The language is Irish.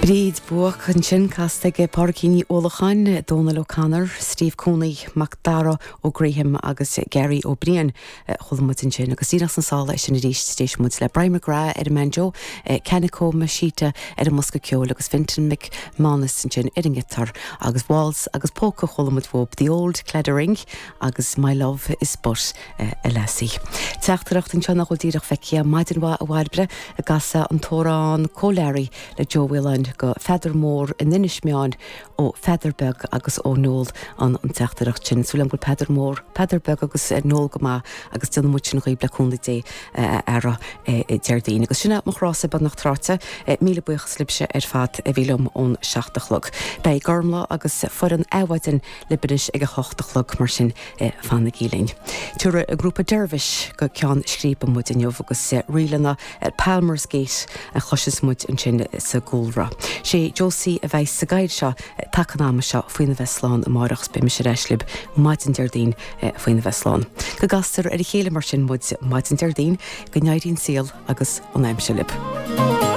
Bríd Buach ansin, casta ag Pádraigín Ní Uallacháin, Dónal O'Connor, Steve Cooney, Mac Dara Ó Gréithim agus Gary Ó Briain a chuala muid ansin. Agus díreach sna sála sin arís, d'éist muid le Brian McGrath ar an mbanjo, Kanako Mashita ar an mbosca ceoil agus Fintan McManus ansin ar an ngiotár agus waltz agus polca a chuala muid uathub, The Old Claddagh Ring agus My Love is But. a Lassie. Teachtaireacht anseo nach bhfuil díreach feicthe. Maidin mhaith a Bhairbre, an gcasfá an t-amhrán Comh Learaí le Joe Whelan go Pheadar Mór in Inis Meáin ó Pheadar Beag agus ó Noel an teachtaireacht sin. Súil agam go bhfuil Peadar Mór, Peadar Beag agus Noel go maith agus déanfaidh muid sin dhaoib le cúnamh Dé a fheara Déardaoin. Agus sin é mo chrása beagnach tráite. Míle buíochas libhse ar fad a bhí liom ón 7 a chlog. Beidh Gormlaith agus foireann Adhmhaidin libh anois ag a hocht a chlog mar sin fanaigí linn. Tabharfaidh an grúpa Dervish go ceann scríbe muid inniu agus ríleanna Palmer's Gate a chloisfeas muid ansin sa gcúlra. Sé Josie a bheidh sa gcathaoir seo taca an ama seo faoina bheith slán amárach is beidh mise ar ais libh maidin Déardaoin faoina bheith slán. Go gcastar ar a chéile mar sin muid maidin Déardaoin, go n-éirí an saol agus an aimsir libh.